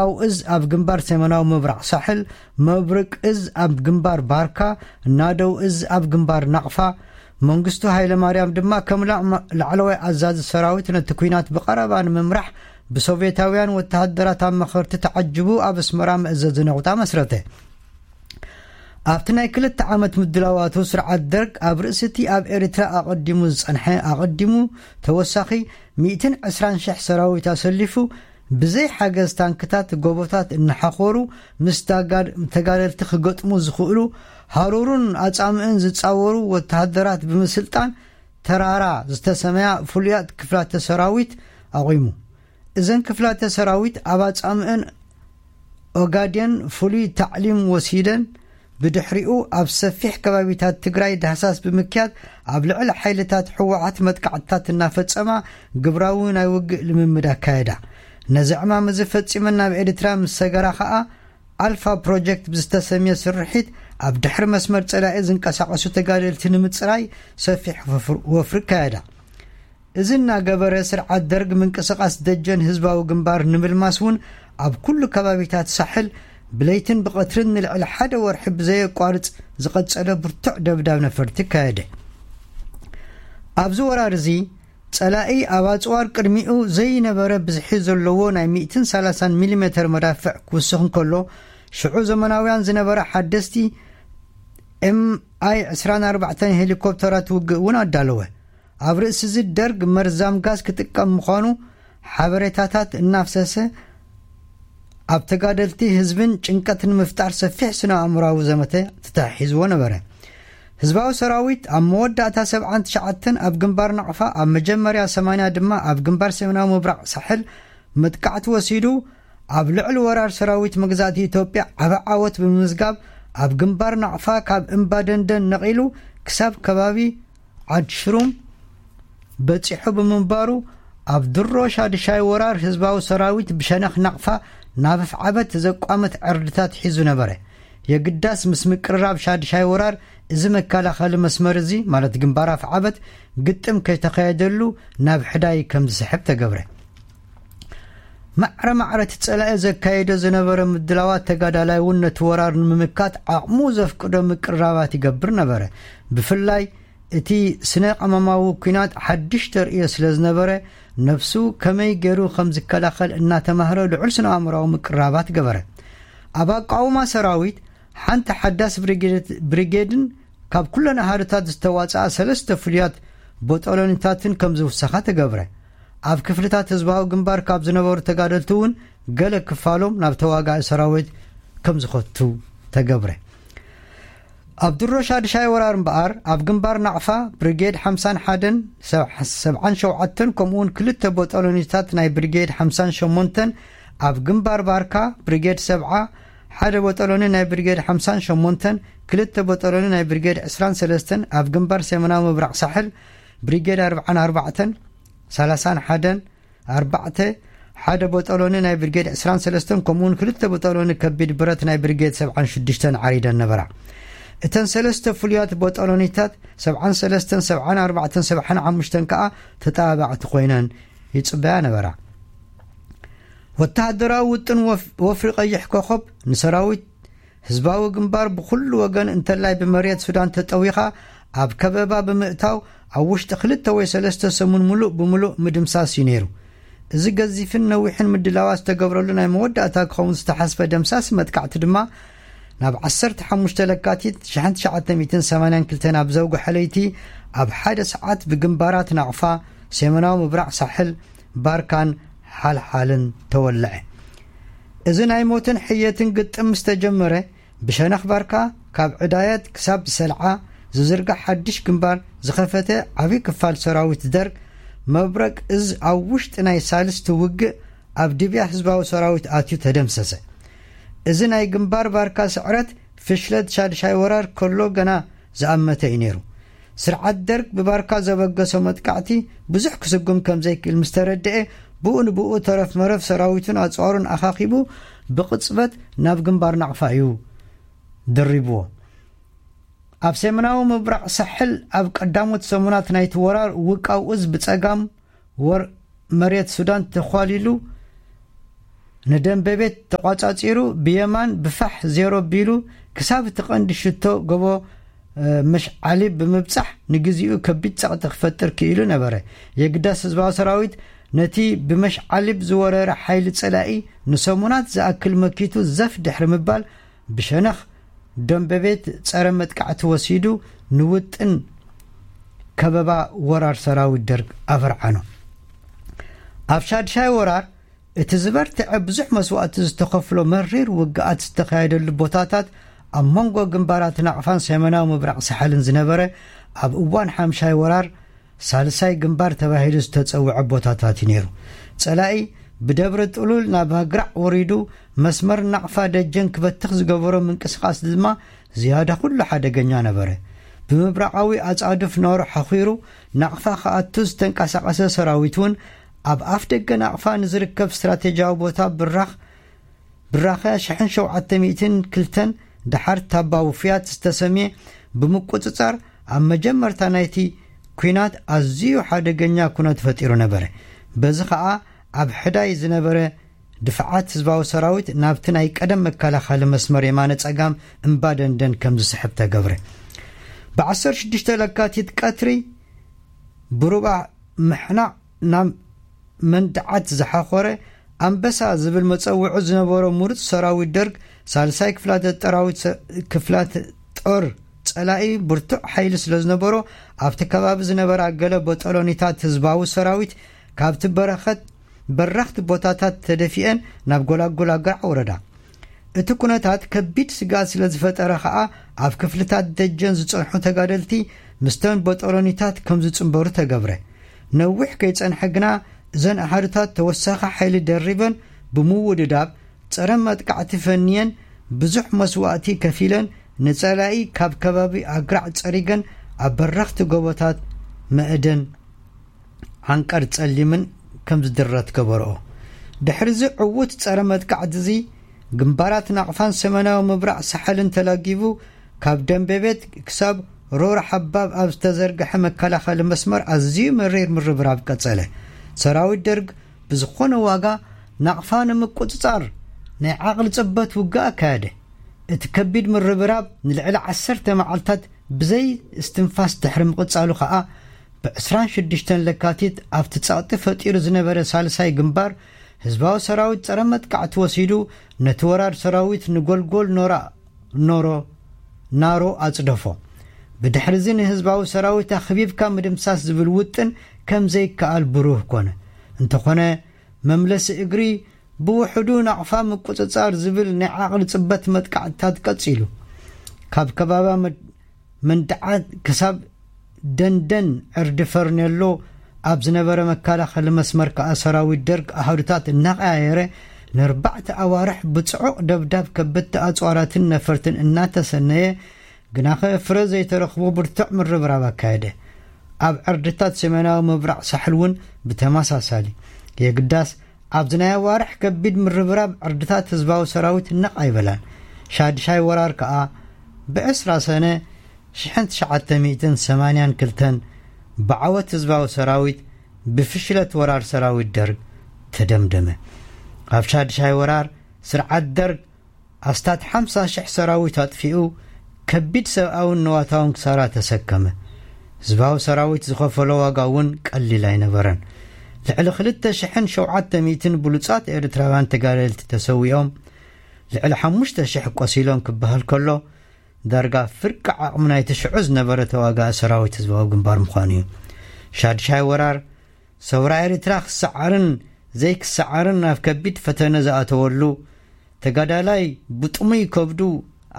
ኣው እዝ ኣብ ግንባር ሰሜናዊ ምብራቕ ሳሕል፣ መብርቅ እዝ ኣብ ግንባር ባርካ፣ ናደው እዝ ኣብ ግንባር ናቕፋ፣ መንግስቱ ሃይለ ማርያም ድማ ከም ላዕማ- ላዕለዋይ ኣዛዚ ሰራዊት ነቲ ኲናት ብቐረባ ንምምራሕ ብሶቭየታውያን ወተሃደራት ኣማኸርቲ ተዓጅቡ ኣብ ኣስመራ መእዘዚ ነቑጣ መስረተ። ኣብቲ ናይ ክልተ ዓመት ምድላዋቱ ስርዓት ደርግ ኣብ ርእሲ እቲ ኣብ ኤርትራ ኣቐዲሙ ዝጸንሐ ኣቐዲሙ ተወሳኺ ሚእትን ዕስራን ሽሕ ሰራዊት ኣሰሊፉ ብዘይ ሓገዝ ታንክታት ጎቦታት እናሓኾሩ ምስ ታጋ- ተጋደልቲ ክገጥሙ ዝኽእሉ ሃሩሩን ኣጻምእን ዝጻወሩ ወተሃደራት ብምስልጣን ተራራ ዝተሰመያ ፍሉያት ክፍላተ ሰራዊት ኣቑሙ። እዘን ክፍላተ ሰራዊት ኣብ ኣጻምእን ኦጋዴን ፍሉይ ታዕሊም ወሲደን ብድሕሪኡ ኣብ ሰፊሕ ከባቢታት ትግራይ ዳህሳስ ብምክያድ ኣብ ልዕሊ ሓይልታት ህወሓት መጥቃዕትታት እናፈጸማ ግብራዊ ናይ ውግእ ልምምድ ኣካየዳ። ነዚ ዕማም እዚ ፈጺመን ናብ ኤርትራ ምስ ሰገራ ከኣ ኣልፋ ፕሮጀክት ብዝተሰምየ ስርሒት ኣብ ድሕሪ መስመር ጸላኢ ዝንቀሳቐሱ ተጋደልቲ ንምጽራይ ሰፊሕ ወፍር- ወፍሪ ኣካየዳ። እዚ እናገበረ ስርዓት ደርግ ምንቅስቓስ ደጀን ህዝባዊ ግንባር ንምልማስ እውን ኣብ ኩሉ ከባቢታት ሳሕል ብለይትን ብቐትርን ንልዕሊ ሓደ ወርሒ ብዘየቋርጽ ዝቐጸለ ብርቱዕ ደብዳብ ነፈርቲ ኣካየደ። ኣብዚ ወራር እዚ ጸላኢ ኣብ ኣጽዋር ቅድሚኡ ዘይነበረ ብዝሒ ዘለዎ ናይ ሚእትን ሰላሳን ሚሊሜተር መዳፍዕ ክውስኽ እንከሎ ሽዑ ዘመናውያን ዝነበራ ሓደስቲ ኤምኣይ ዕስራን ኣርባዕተን ሄሊኮፕተራት ውግእ እውን ኣዳለወ። ኣብ ርእሲ እዚ ደርግ መርዛም ጋዝ ክጥቀም ምዃኑ ሓበሬታታት እናፍሰሰ ኣብ ተጋደልቲ ህዝብን ጭንቀት ንምፍጣር ሰፊሕ ስነ ኣእምራዊ ዘመተ ተታሒዝዎ ነበረ። ህዝባዊ ሰራዊት ኣብ መወዳእታ ሰብዓን ትሽዓተን ኣብ ግንባር ናቕፋ ኣብ መጀመርያ ሰማንያ ድማ ኣብ ግንባር ሰሜናዊ ምብራቕ ሳሕል መጥቃዕቲ ወሲዱ ኣብ ልዕሊ ወራር ሰራዊት መግዛእቲ ኢትዮጵያ ዓቢ ዓወት ብምምዝጋብ ኣብ ግንባር ናቕፋ ካብ እምባ ደንደን ነቒሉ ክሳብ ከባቢ ዓድሽሩም በጺሑ ብምንባሩ ኣብ ድሮ ሻድሻይ ወራር ህዝባዊ ሰራዊት ብሸነኽ ናቕፋ ናብ ኣፍዓበት ዘቋመት ዕርድታት ሒዙ ነበረ። የግዳስ ምስ ምቅርራብ ሻድሻይ ወራር እዚ መከላኸሊ መስመር እዚ ማለት ግንባር ኣፍዓበት ግጥም ከይተኻየደሉ ናብ ሕዳይ ከም ዝስሕብ ተገብረ። ማዕረ ማዕረ እቲ ጸላኢ ዘካየዶ ዝነበረ ምድላዋት ተጋዳላይ እውን ነቲ ወራር ንምምካት ዓቕሙ ዘፍቅዶ ምቅርራባት ይገብር ነበረ። ብፍላይ እቲ ስነ ቀመማዊ ኲናት ሓድሽ ተርእዮ ስለ ዝነበረ ነብሱ ከመይ ገይሩ ከም ዝከላኸል እናተማህረ ልዑል ስነ ኣእምራዊ ምቅርራባት ገበረ። ኣብ ኣቃውማ ሰራዊት ሓንቲ ሓዳስ ብሪጌድ- ብሪጌድን ካብ ኩለን ኣሃዱታት ዝተዋጽኣ ሰለስተ ፍሉያት ቦጦሎኒታትን ከም ዝውሰኻ ተገብረ። ኣብ ክፍልታት ህዝባዊ ግንባር ካብ ዝነበሩ ተጋደልቲ እውን ገለ ክፋሎም ናብ ተዋጋኢ ሰራዊት ከም ዝኸቱ ተገብረ። ኣብ ድሮ ሻድሻይ ወራር እምበኣር ኣብ ግንባር ናቕፋ ብሪጌድ ሓምሳን ሓደን ሰብዓን ሸውዓተን ከምኡውን ክልተ ቦጦሎኒታት ናይ ብሪጌድ ሓምሳን ሸሞንተን ኣብ ግንባር ባርካ ብሪጌድ ሰብዓ ሓደ ቦጦሎኒ ናይ ብሪጌድ ሓምሳን ሸሞንተን ክልተ ቦጦሎኒ ናይ ብሪጌድ ዕስራን ሰለስተን ኣብ ግንባር ሰሜናዊ ምብራቕ ሳሕል ብሪጌድ ኣርብዓን ኣርባዕተን ሰላሳን ሓደን ኣርባዕተ ሓደ ቦጦሎኒ ናይ ብሪጌድ ዕስራን ሰለስተን ከምኡውን ክልተ ቦጦሎኒ ከቢድ ብረት ናይ ብሪጌድ ሰብዓን ሽዱሽተን ዓሪደን ነበራ። እተን ሰለስተ ፍሉያት ቦጦሎኒታት ሰብዓን ሰለስተን ሰብዓን ኣርባዕተን ሰብዓን ሓሙሽተን ከኣ ተጣባዕቲ ኮይነን ይጽበያ ነበራ። ወተሃደራዊ ውጥን ወፍ- ወፍሪ ቀይሕ ኮኸብ ንሰራዊት ህዝባዊ ግንባር ብኹሉ ወገን እንተላይ ብመሬት ሱዳን ተጠዊኻ ኣብ ከበባ ብምእታው ኣብ ውሽጢ ክልተ ወይ ሰለስተ ሰሙን ምሉእ ብምሉእ ምድምሳስ እዩ ነይሩ። እዚ ገዚፍን ነዊሕን ምድላዋት ዝተገብረሉ ናይ መወዳእታ ክኸውን ዝተሓስበ ደምሳሲ መጥቃዕቲ ድማ ናብ ዓሰርተ ሓሙሽተ ለካቲት ሽሕን ትሽዓተ ሚእትን ሰማንያን ክልተን ኣብ ዘውግሐ ለይቲ ኣብ ሓደ ሰዓት ብግንባራት ናቕፋ፣ ሰሜናዊ ምብራቕ ሳሕል፣ ባርካን ሓልሓልን ተወልዐ። እዚ ናይ ሞትን ሕየትን ግጥም ምስ ተጀመረ ብሸነኽ ባርካ ካብ ዕዳየት ክሳብ ሰልዓ ዝዝርጋሕ ሓድሽ ግንባር ዝኸፈተ ዓብዪ ክፋል ሰራዊት ደርግ መብረቅ እዝ ኣብ ውሽጢ ናይ ሳልስቲ ውግእ ኣብ ድብያ ህዝባዊ ሰራዊት ኣትዩ ተደምሰሰ። እዚ ናይ ግንባር ባርካ ስዕረት ፍሽለት ሻድሻይ ወራር ከሎ ገና ዝኣመተ እዩ ነይሩ። ስርዓት ደርግ ብባርካ ዘበገሶ መጥቃዕቲ ብዙሕ ክስጉም ከም ዘይክእል ምስ ተረድኤ ብኡ ንብኡ ተረፍ መረፍ ሰራዊቱን ኣፅዋሩን ኣኻኺቡ ብቕፅበት ናብ ግንባር ናቕፋ እዩ ደሪብዎ። ኣብ ሰሜናዊ ምብራቕ ሳሕል ኣብ ቀዳሞት ሰሙናት ናይቲ ወራር ውቃው እዝ ብጸጋም ወር መሬት ሱዳን ተዃሊሉ ንደንበ ቤት ተቋጻጺሩ ብየማን ብፋሕ ዜሮ ቢሉ ክሳብ እቲ ቀንዲ ሽቶ ጎቦ መሽዓሊ ብምብጻሕ ንግዚኡ ከቢድ ጸቕጢ ክፈጥር ክኢሉ ነበረ። የግዳስ ህዝባዊ ሰራዊት ነቲ ብመሽዓሊብ ዝወረረ ሓይሊ ጸላኢ ንሰሙናት ዝኣክል መኪቱ ዘፍ ድሕሪ ምባል ብሸነኽ ደንበ ቤት ጸረ መጥቃዕቲ ወሲዱ ንውጥን ከበባ ወራር ሰራዊት ደርግ ኣፈርዓኖ። ኣብ ሻድሻይ ወራር እቲ ዝበርትዐ ብዙሕ መስዋእቲ ዝተኸፍሎ መሪር ውግኣት ዝተኻየደሉ ቦታታት ኣብ መንጎ ግንባራት ናቕፋን ሰሜናዊ ምብራቕ ሳሕልን ዝነበረ ኣብ እዋን ሓምሻይ ወራር ሳልሳይ ግንባር ተባሂሉ ዝተጸውዐ ቦታታት እዩ ነይሩ። ጸላኢ ብደብረ ጥሉል ናብ ኣግራዕ ወሪዱ መስመር ናቕፋ ደጀን ክበትኽ ዝገበሮ ምንቅስቓስ ድማ ዝያዳ ኩሉ ሓደገኛ ነበረ። ብምብራቓዊ ኣጻድፍ ኖሮ ሓኺሩ ናቕፋ ክኣቱ ዝተንቀሳቐሰ ሰራዊት እውን ኣብ ኣፍ ደገ ናቕፋ ንዝርከብ ስትራቴጂያዊ ቦታ ብራኽ ብራኸ ሽሕን ሸውዓተ ሚእትን ክልተን ደሓር ታባ ውፍያት ዝተሰምየ ብምቁጽጻር ኣብ መጀመርታ ናይቲ ኲናት ኣዝዩ ሓደገኛ ኩነት ፈጢሩ ነበረ። በዚ ኸኣ ኣብ ሕዳይ ዝነበረ ድፍዓት ህዝባዊ ሰራዊት ናብቲ ናይ ቀደም መከላኸሊ መስመር የማነ ጸጋም እምባ ደንደን ከም ዝስሕብ ተገብረ። ብ16 ለካቲት ቀትሪ ብሩባ ምሕናቕ ናብ መንድዓት ዝሓኾረ ኣንበሳ ዝብል መጸውዒ ዝነበሮ ምሩጽ ሰራዊት ደርግ ሳልሳይ ክፍላተ ጠራዊት ሰ- ክፍላተ ጦር ጸላኢ ብርቱዕ ሓይሊ ስለ ዝነበሮ ኣብቲ ከባቢ ዝነበራ ገለ በጠሎኒታት ህዝባዊ ሰራዊት ካብቲ በረኸት በረኽቲ ቦታታት ተደፊአን ናብ ጎላጎል ኣግራዕ ወረዳ። እቲ ኩነታት ከቢድ ስግኣት ስለ ዝፈጠረ ኸኣ ኣብ ክፍልታት ደጀን ዝጸንሑ ተጋደልቲ ምስተን በጠሎኒታት ከም ዝጽንበሩ ተገብረ። ነዊሕ ከይጸንሐ ግና እዘን ኣሃዱታት ተወሳኺ ሓይሊ ደሪበን ብምውድዳብ ጸረ መጥቃዕቲ ፈንየን ብዙሕ መስዋእቲ ከፊለን ንጸላኢ ካብ ከባቢ ኣግራዕ ጸሪገን ኣብ በረኽቲ ጎቦታት መእደን ዓንቀር ጸሊምን ከም ዝድረት ገበርኦ። ድሕሪዚ ዕዉት ጸረ መጥቃዕቲ እዚ ግንባራት ናቕፋን ሰሜናዊ ምብራቕ ሳሕልን ተላጊቡ ካብ ደንበ ቤት ክሳብ ሮር ሓባብ ኣብ ዝተዘርግሐ መከላኸሊ መስመር ኣዝዩ መሪር ምርብራብ ቀጸለ። ሰራዊት ደርግ ብዝኾነ ዋጋ ናቕፋ ንምቁጽጻር ናይ ዓቕሊ ጽበት ውግእ ኣካየደ። እቲ ከቢድ ምርብራብ ንልዕሊ ዓሰርተ መዓልታት ብዘይ እስትንፋስ ድሕሪ ምቕጻሉ ኸኣ ብ26 ለካቲት ኣብቲ ጸቕጢ ፈጢሩ ዝነበረ ሳልሳይ ግንባር ህዝባዊ ሰራዊት ጸረ መጥቃዕቲ ወሲዱ ነቲ ወራር ሰራዊት ንጎልጎል ኖራ ኖሮ ናሮ ኣጽደፎ። ብድሕሪዚ ንህዝባዊ ሰራዊት ኣኽቢብካ ምድምሳስ ዝብል ውጥን ከም ዘይከኣል ብሩህ ኮነ። እንተኾነ መምለሲ እግሪ ብውሕዱ ናቕፋ ምቁጽጻር ዝብል ናይ ዓቕሊ ጽበት መጥቃዕትታት ቀጺሉ። ካብ ከባባ መድ- መንድዓት ክሳብ ደንደን ዕርዲ ፈርኔሎ ኣብ ዝነበረ መከላኸሊ መስመር ከኣ ሰራዊት ደርግ ኣሃዱታት እናቐያየረ ንኣርባዕተ ኣዋርሕ ብጽዑቕ ደብዳብ ከበድቲ ኣጽዋራትን ነፈርትን እናተሰነየ ግናኸ ፍረ ዘይተረኽቦ ብርቱዕ ምርብራብ ኣካየደ። ኣብ ዕርድታት ሰሜናዊ ምብራቕ ሳሕል እውን ብተመሳሳሊ የግዳስ ኣብዚ ናይ ኣዋርሕ ከቢድ ምርብራብ ዕርድታት ህዝባዊ ሰራዊት ነቕ ኣይበላን። ሻድሻይ ወራር ከኣ ብ20 ሰነ ሽሕን ትሽዓተ ሚእትን ሰማንያን ክልተን ብዓወት ህዝባዊ ሰራዊት ብፍሽለት ወራር ሰራዊት ደርግ ተደምደመ። ኣብ ሻድሻይ ወራር ስርዓት ደርግ ኣስታት ሓምሳ ሽሕ ሰራዊት ኣጥፊኡ ከቢድ ሰብኣውን ንዋታውን ክሳራ ተሰከመ። ህዝባዊ ሰራዊት ዝኸፈሎ ዋጋ እውን ቀሊል ኣይነበረን። ልዕሊ ክልተ ሽሕን ሸውዓተ ሚእትን ብሉጻት ኤርትራውያን ተጋደልቲ ተሰዊኦም ልዕሊ ሓሙሽተ ሽሕ ቆሲሎም ክበሃል ከሎ ዳርጋ ፍርቂ ዓቕሚ ናይቲ ሽዑ ዝነበረ ተዋጋኢ ሰራዊት ህዝባዊ ግንባር ምዃኑ እዩ። ሻድሻይ ወራር ሰውራ ኤርትራ ክሰዓርን ዘይክሰዓርን ናብ ከቢድ ፈተነ ዝኣተወሉ ተጋዳላይ ብጥሙይ ከብዱ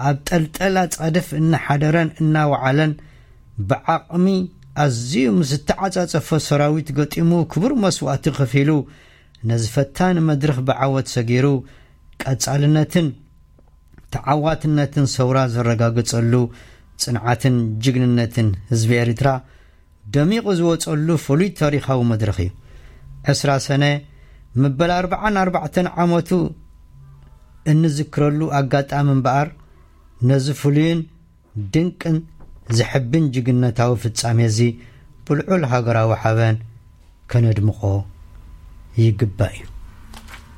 ኣብ ጠልጠላ ጻድፍ እናሓደረን እናወዓለን ብዓቕሚ ኣዝዩ ምስ ዝተዓጻጸፎ ሰራዊት ገጢሙ ክቡር መስዋእቲ ከፊሉ ነዚ ፈታኒ መድረኽ ብዓወት ሰጊሩ ቀጻልነትን ተዓዋትነትን ሰውራ ዘረጋገጸሉ ጽንዓትን ጅግንነትን ህዝቢ ኤርትራ ደሚቑ ዝወጸሉ ፍሉይ ታሪኻዊ መድረኽ እዩ። ዕስራ ሰነ መበል ኣርባዓን ኣርባዕተን ዓመቱ እንዝክረሉ ኣጋጣሚ እምበኣር ነዚ ፍሉይን ድንቅን ዘሕብን ጅግንነታዊ ፍጻሜ እዚ ብልዑል ሃገራዊ ሓበን ከነድምቖ ይግባእ እዩ።